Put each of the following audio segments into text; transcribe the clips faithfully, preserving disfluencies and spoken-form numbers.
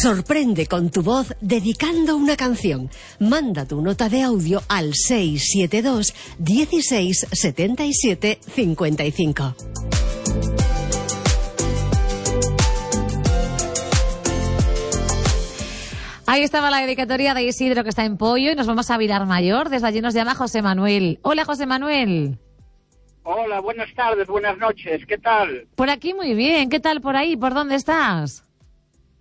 Sorprende con tu voz dedicando una canción. Manda tu nota de audio al seis siete dos, dieciséis, setenta y siete, cincuenta y cinco. Ahí estaba la dedicatoria de Isidro, que está en Pollo, y nos vamos a Vilar Mayor. Desde allí nos llama José Manuel. Hola, José Manuel. Hola, buenas tardes, buenas noches, ¿qué tal? Por aquí muy bien, ¿qué tal por ahí? ¿Por dónde estás?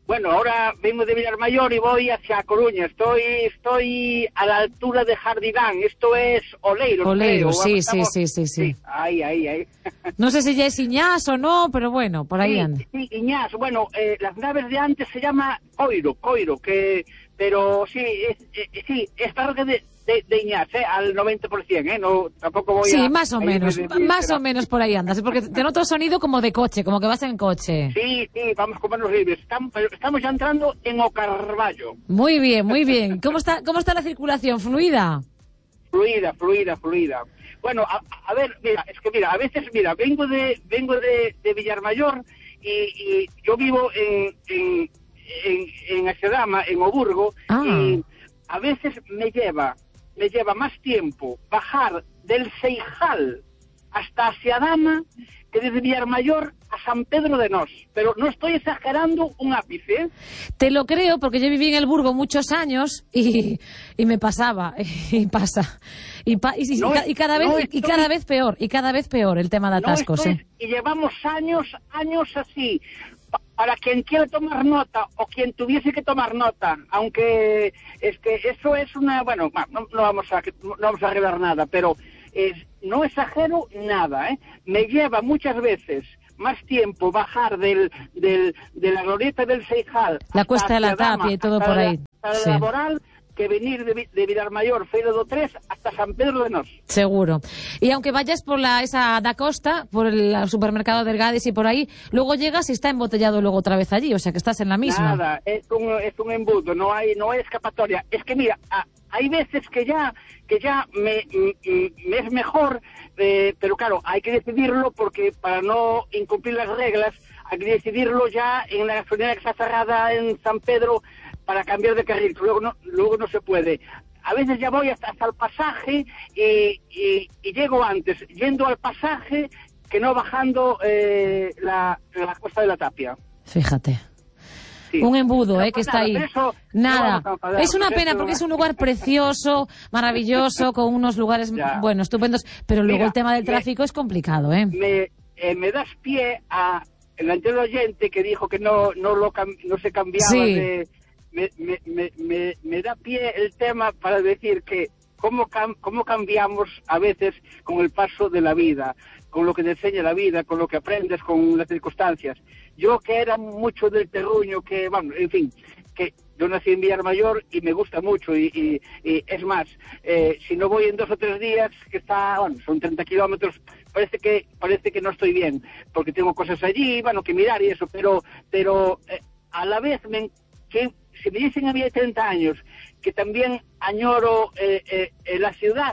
Bueno, ahora vengo de Vilar Mayor y voy hacia Coruña. Estoy estoy a la altura de Jardidán. Esto es Oleiros. Oleiros, sí, Estamos... sí, sí, sí, sí. Ahí, ahí, ahí. No sé si ya es Iñás o no, pero bueno, por ahí sí, anda. Sí, Iñás. Bueno, eh, las naves de antes se llama Coiro, Coiro, que... Pero sí, es, eh, sí, es tarde de, de, de Iñás, ¿eh? Al noventa por ciento, ¿eh? No, tampoco voy sí, a... Sí, más o menos, de, de, más o menos por ahí andas, porque te noto sonido como de coche, como que vas en coche. Sí, sí, vamos con manos libres. Estamos, estamos ya entrando en O Carballo. Muy bien, muy bien. ¿Cómo está, cómo está la circulación? ¿Fluida? Fluida, fluida, fluida. Bueno, a, a ver, mira, es que mira, a veces, mira, vengo de vengo de, de Villarmayor y, y yo vivo en... en en, en Axedama, en Oburgo, ah. y a veces me lleva, me lleva más tiempo bajar del Seijal hasta Axedama que desde Villarmayor a San Pedro de Nos. Pero no estoy exagerando un ápice, ¿eh? Te lo creo, porque yo viví en el Burgo muchos años y, y me pasaba, y pasa. Y, pa, y, no, y, cada vez, no estoy, y cada vez peor, y cada vez peor el tema de atascos. No ¿eh? Y llevamos años, años así. Para quien quiera tomar nota o quien tuviese que tomar nota, aunque es que eso es una, bueno, no, no vamos a no vamos a arreglar nada, pero es, no exagero nada, ¿eh? Me lleva muchas veces más tiempo bajar del, del de la glorieta del Seijal, la Cuesta de la Tapia y todo por ahí, hasta sí. La Laboral, que venir de, de Vilarmayor, Feira do tres, hasta San Pedro de Nos. Seguro. Y aunque vayas por la esa da Costa, por el supermercado del Gadis y por ahí, luego llegas y está embotellado luego otra vez allí, o sea que estás en la misma. Nada, es un, es un embudo, no hay no hay escapatoria. Es que mira, a, hay veces que ya que ya me, me, me es mejor, eh, pero claro, hay que decidirlo porque para no incumplir las reglas, hay que decidirlo ya en la gasolinera que está cerrada en San Pedro, para cambiar de carril, luego no, luego no se puede. A veces ya voy hasta, hasta el pasaje y, y, y llego antes, yendo al pasaje, que no bajando eh, la, la Cuesta de la Tapia. Fíjate. Sí. Un embudo, no, eh, que está nada, ahí. Eso, nada. No es una pena porque es un lugar precioso, maravilloso, con unos lugares, ya. bueno, estupendos, pero luego Mira, el tema del tráfico me, es complicado, ¿eh? Me, eh, me das pie a el anterior oyente que dijo que no, no, lo, no se cambiaba sí. de... Me, me, me, me, me da pie el tema para decir que cómo, cam, cómo cambiamos a veces con el paso de la vida, con lo que te enseña la vida, con lo que aprendes, con las circunstancias. Yo que era mucho del terruño, que, bueno, en fin, que yo nací en Villarmayor y me gusta mucho y, y, y es más, eh, si no voy en dos o tres días, que está, bueno, son treinta kilómetros, parece que parece que no estoy bien, porque tengo cosas allí, bueno, que mirar y eso, pero, pero eh, a la vez me... que si me dicen a mí de treinta años que también añoro eh, eh, eh, la ciudad,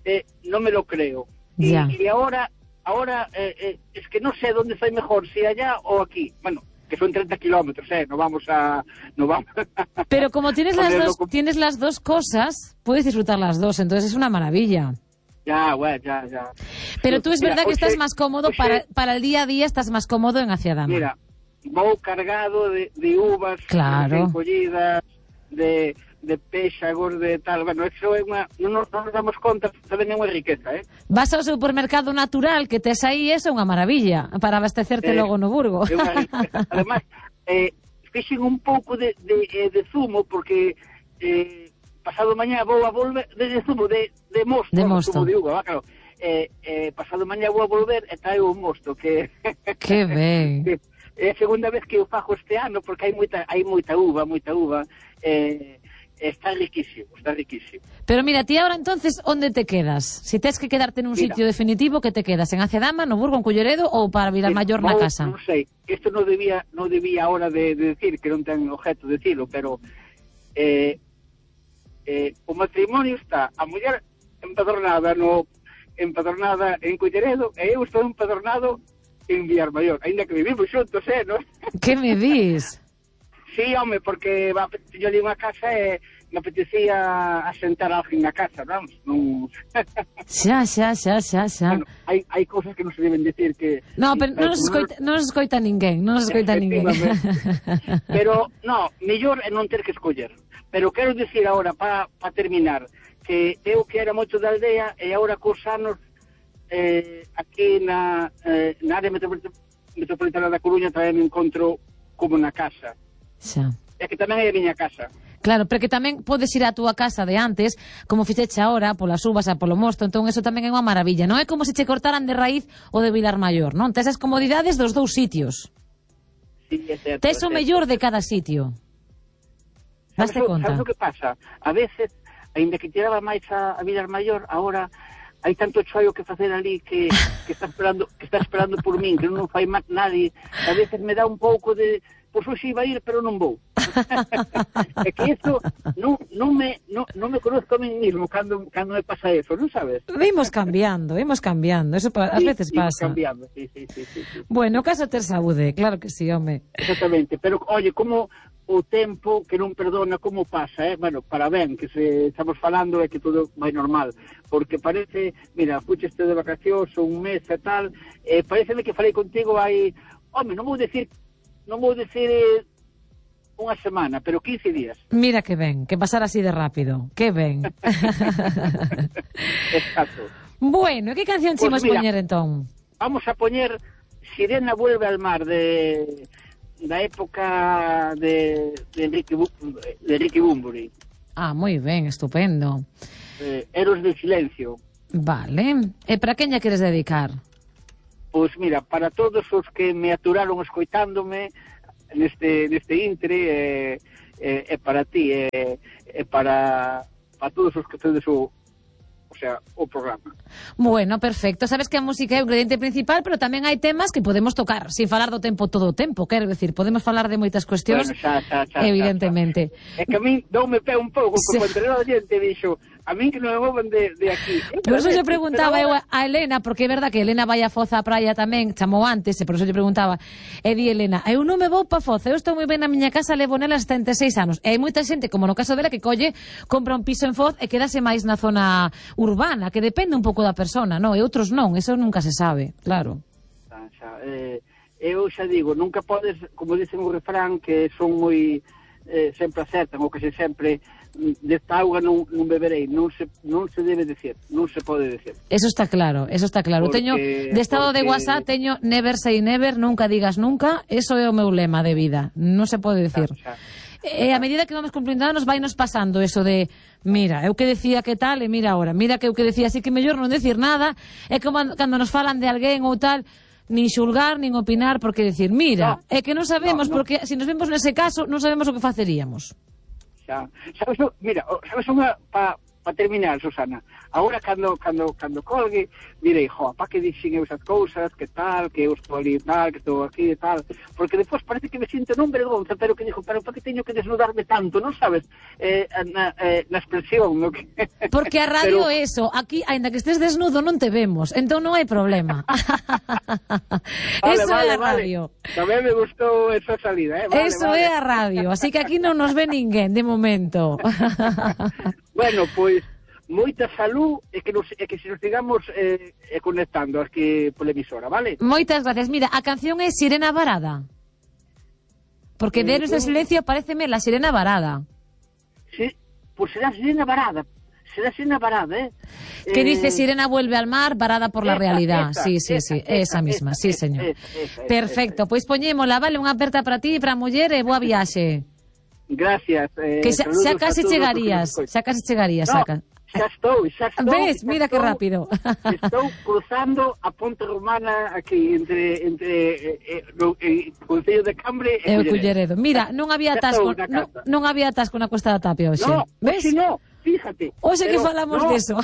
eh, no me lo creo. Y, y ahora, ahora eh, eh, es que no sé dónde estoy mejor, si allá o aquí. Bueno, que son treinta kilómetros, ¿eh? No vamos a... No vamos a Pero como tienes las, dos, tienes las dos cosas, puedes disfrutar las dos, entonces es una maravilla. Ya, bueno, ya, ya. Pero tú es mira, verdad que oxe, estás más cómodo, oxe, para, para el día a día estás más cómodo en Axedama. Mira, voy cargado de, de uvas, claro. de collidas, de, de péxagos, de tal. Bueno, eso é unha, non nos, non nos damos conta, tamén é unha riqueza, eh? Vas ao supermercado natural que tes aí, eso é unha maravilla, para abastecerte eh, logo no Burgo. É unha riqueza. Además, eh, fixen un pouco de, de, de zumo, porque eh, pasado mañá vou a volver, de, de zumo, de, de mosto, de mosto. Zumo de uva, va, claro. Eh, eh, pasado mañá vou a volver e traio un mosto, que... Que ben. que, é a segunda vez que eu fago este ano porque hai moita hai moita uva, moita uva. Eh, está riquísimo, está riquísimo. Pero mira, ti ahora entonces, onde te quedas? Si tes que quedarte nun sitio definitivo, que te quedas? En Axedama, no Burgo, en Culleredo ou para Vilarmayor na casa? Non sei, isto non debía non debía ahora de, de decir, que non ten objeto de decirlo, pero eh, eh, o matrimonio está a muller empadronada no empadronada en Culleredo e eu estou empadronado en Villarmayor, ainda que vivimos xuntos, eh, non? Que me dis? Sí, home, porque va, yo digo unha casa e me apetecía asentar a alguén na casa, vamos, non... Xa, xa, xa, xa, xa. Bueno, hai, hai cousas que non se deben decir que... No, pero non nos escoita, non nos escoita ninguén, non nos escoita ninguén. Pero, no, mellor é non ter que escoller. Pero quero dicir agora, para pa terminar, que eu que era moito da aldea e agora cos anos eh, aquí na, eh, na área metropolitana, metropolitana da Coruña tamén me encontro como na casa. Xa. É que tamén é a miña casa. Claro, pero que tamén podes ir á túa casa de antes, como fixeche agora, polas uvas a polo mosto, entón eso tamén é unha maravilla. Non é como se che cortaran de raíz o de Vilar Maior, non? Tes as comodidades dos dous sitios. Sí, é certo. Tes o mellor de cada sitio. Daste conta? Sabes o que pasa? A veces, aínda que tiraba máis a, a Vilar Maior, agora hai tanto choio que facer ali que, que está esperando que está esperando por min, que non fai máis nadie. A veces me dá un pouco de... Pois hoxe iba a ir, pero non vou. É que isto non, non, me, non, non me conozco a mí mismo cando, cando me pasa eso, non sabes? Vimos cambiando, vimos cambiando. Eso pa, sí, ás veces pasa. cambiando, sí, sí, sí, sí, sí. Bueno, o caso ter saúde, claro que sí, home. Exactamente, pero, oye, como o tempo que non perdona como pasa, eh? Bueno, para ben, que se estamos falando é que todo vai normal, porque parece, mira, fucheste de vacacións un mes e tal, eh, pareceme que falei contigo hai, home, non vou decir non vou dicir eh, unha semana, pero quince días. Mira que ben, que pasar así de rápido. Que ben. Exacto. Bueno, que canción Pues chimos mira, poñer entón? Vamos a poñer Sirena vuelve al mar de da época de, de Enrique de Enrique Bunbury. Ah, moi ben, estupendo. Eh, Héroes del silencio. Vale. E para quen lla queres dedicar? Pois mira, para todos os que me aturaron escoitándome neste, neste intre, é eh, eh, eh, para ti, é eh, eh, para, para todos os que tedes o, o sea, o programa. Bueno, perfecto. Sabes que a música é o ingrediente principal, pero tamén hai temas que podemos tocar, sin falar do tempo todo o tempo, quero decir, podemos falar de moitas cuestións, bueno, xa, xa, xa, evidentemente. Xa, xa. É que a mí doume pé un pouco, como sí. Entre o xente dixo, a mí que non me movan de, de aquí. Por eso lle preguntaba eu a Elena, porque é verdad que Elena vai a Foz á praia tamén, chamou antes, e por eso lle preguntaba, e di Elena, eu non me vou pa Foz, eu estou moi ben na miña casa, levo nela setenta e seis anos, e hai moita xente, como no caso dela, que colle, compra un piso en Foz e quedase máis na zona urbana, que depende un pouco da persona, non? E outros non, eso nunca se sabe, claro. Xa, xa, eh, eu xa digo, nunca podes, como dicen o refrán, que son moi, eh, sempre acertan, ou que se sempre... desta auga non, non beberei, non se, non se debe decir, non se pode decir. Eso está claro, eso está claro. Porque, teño de estado porque... de WhatsApp, teño never say never, nunca digas nunca, eso é o meu lema de vida, non se pode decir. Xa, xa. E a medida que vamos cumplindo anos vai nos pasando eso de, mira, eu que decía que tal, e mira ahora, mira que eu que decía así que mellor non decir nada, é como cando nos falan de alguén ou tal, nin xulgar, nin opinar, porque decir, mira, no, é que non sabemos, no, no. Porque se nos vemos nese caso, non sabemos o que faceríamos. Sabes, mira, sabes unha pa, pa terminar, Susana. Agora cando cando cando colgue, direi, jo, pa que dixen eu esas cousas, que tal, que eu estou ali tal, que estou aquí e tal, porque despois parece que me sinto non vergonza, pero que dixo, pero pa que teño que desnudarme tanto, non sabes? Eh, na, eh, na expresión, no que... Porque a radio pero... eso, aquí, aínda que estés desnudo, non te vemos, entón non hai problema. Vale, eso vale, é a radio. Vale. Tamén me gustou esa salida, eh? Vale, eso vale. É a radio, así que aquí non nos ve ninguén, de momento. Bueno, pois, moita salud e que, nos, e que se nos sigamos eh, conectando aquí pola emisora, vale? Moitas gracias. Mira, a canción é Sirena Varada. Porque de Héroes del Silencio pareceme la Sirena Varada. Sí, pois será Sirena Varada. Será Sirena Varada, eh? Que eh... dice Sirena vuelve al mar, varada por la esa, realidad. Esa, sí, sí, esa, sí, esa, esa misma, esa, sí, señor. Esa, esa, esa, perfecto, esa. Pois poñémola, vale, unha aperta para ti e para a muller e boa viaxe. Gracias. Eh, que xa, xa casi chegarías, xa casi chegarías, no, saca. Xa estou, xa estou. Ves, xa mira estou, que rápido. Estou cruzando a Ponte Romana aquí, entre entre eh, eh, no, eh, Concello de Cambre e o Culleredo. Mira, non había atasco, non, non había atasco na Costa da Tapia hoxe. No, ves? Si no, fíjate. Hoxe que falamos no, deso.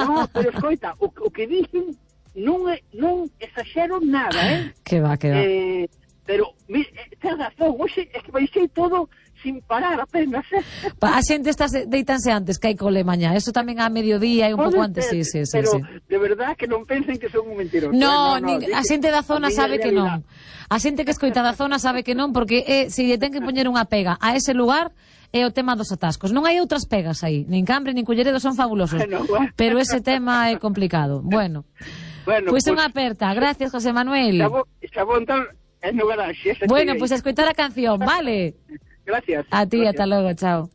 No, pero escoita, o, o que dixen non é, non exaxero nada, eh? Que va, que va. Eh, pero ten razón, hoxe é que baixei todo sin parar apenas, eh? A xente está deitanse antes que hai cole mañá, eso tamén a mediodía e un pouco antes, sí, sí, sí. Pero sí. de verdad que non pensen que son un mentiroso. No, eh? no, no nin, a xente da zona sabe que non. A xente que escoita da zona sabe que non, porque é, se lle ten que poñer unha pega a ese lugar, é o tema dos atascos. Non hai outras pegas aí, nin Cambre, nin Culleredo son fabulosos, bueno, bueno. Pero ese tema é complicado. Bueno, bueno pois pues, unha aperta. Gracias, José Manuel. Xa vou entrar en no garaxe. Bueno, pois pues, a escoitar a canción, vale? Gracias. A ti, Gracias. Hasta logo, chao.